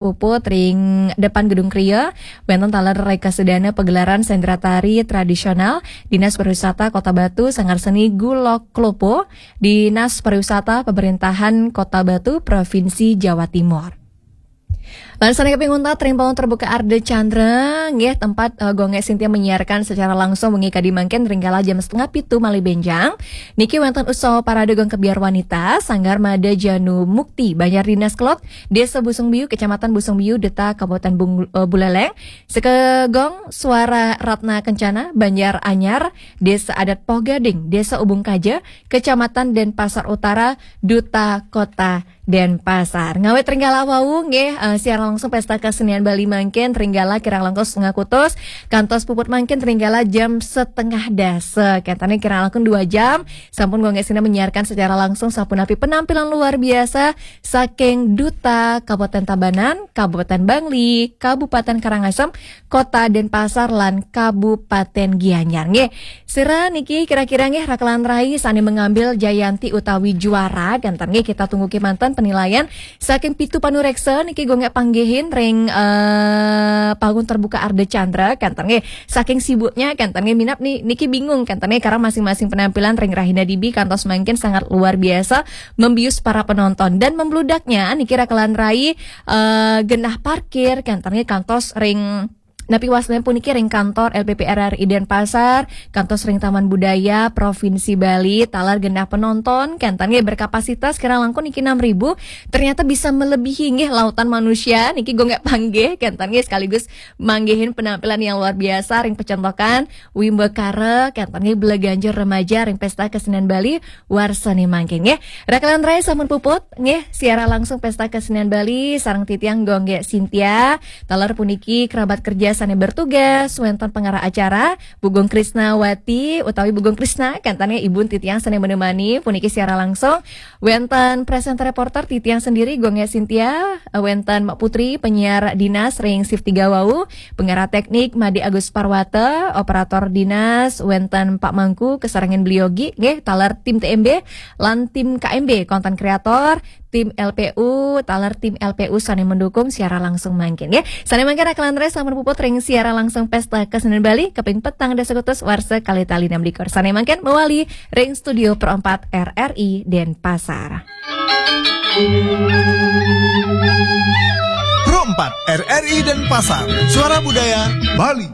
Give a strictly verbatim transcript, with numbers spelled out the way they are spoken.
Puput ring depan Gedung Kria, wénten taler reka sedana pagelaran sendratari tradisional Dinas Pariwisata Kota Batu, Sanggar Seni Gulok Klopo, Dinas Pariwisata Pemerintahan Kota Batu, Provinsi Jawa Timur. Lan sané kaping untat ring panggung terbuka Ardha Candra, nggih, tempat eh, Gung Gé Sintia menyiarkan secara langsung wengi kadi mangkin ring kala jam setengah pitu malih bénjang. Niki wénten usaha parade Gung Kebyar Wanita, Sanggar Mada Janu Mukti, Banjar Dinas Kelod, Desa Busung Biu, Kecamatan Busung Biu, Duta Kabupaten Bung, eh, Buleleng, Sekegong Suara Ratna Kencana, Banjar Anyar, Desa Adat Poh Gading, Desa Ubung Kaja, Kecamatan Denpasar Utara, Duta Kota Denpasar. Ngawit ring kala wau nggih, eh, siaran langsung Pesta Kesenian Bali mangkin ring kala kirang langkung setengah kutus, kantos puput mangkin ring kala jam setengah dasa. Kénten kirang langkung dua jam, sampun Gung Gé Sintia menyiarkan secara langsung sapunapi penampilan luar biasa saking Duta Kabupaten Tabanan, Kabupaten Bangli, Kabupaten Karangasem, Kota Denpasar, lan Kabupaten Gianyar. Nggih, sira niki kira-kira nggih rakelan rai sané mengambil jayanti utawi juara, kénten nggih, kita tunggu kémanten penilaian saking pitu panureksa niki Gung Gé panggihin ring eh, panggung terbuka Ardha Candra, kénten nggih. Saking sibuknya, kénten nggih, minab ni, niki bingung, kénten nggih, karena masing-masing penampilan ring rahina dibi kantos mangkin sangat luar biasa membius para penonton. Dan membludaknya niki rakelan rai eh, genah parkir, kénten nggih, kantos ring napi wastan puniki ring kantor L P P R R I Denpasar, kantos ring Taman Budaya Provinsi Bali, taler genah penonton, kénten nggih, berkapasitas kirang langkung niki enam ribu, ternyata bisa melebihi nggih lautan manusia, niki Gung Gé panggih, kénten nggih, sekaligus manggihin penampilan yang luar biasa ring pecentokan Wimbakara, kénten nggih, bela ganjur remaja ring Pesta Kesenian Bali warsané mangkin nggih. Rakelan rai sampun puput nggih, siaran langsung Pesta Kesenian Bali sareng titiang Gung Gé Sintia. Taler puniki kerabat kerja sané bertugas, wénten pengarah acara, Bu Gung Krisnawati utawi Bu Gung Krisna, kénten nggih, ibun titiang sané menemani puniki siaran langsung. Wénten presenter reporter titiang sendiri, Gung Gé Sintia, wénten Mak Putri, penyiar dinas ring shift tiga wau, pengarah teknik Made Agus Parwata, operator dinas, wénten Pak Mangku, kesarengan beliau ugi, nggih, taler tim T M B, lan tim K M B, konten kreator, tim L P U, taler tim L P U sané mendukung siaran langsung mangkin, nggih. Sané mangkin rakelan rai sampun puput ring siaran langsung Pesta Kesenian Bali kaping petang dasa kutus warsa kalih tali enam likur. Sané mangkin mawali ring studio Pro empat R R I Denpasar. Pro empat R R I Denpasar, Suara Budaya Bali.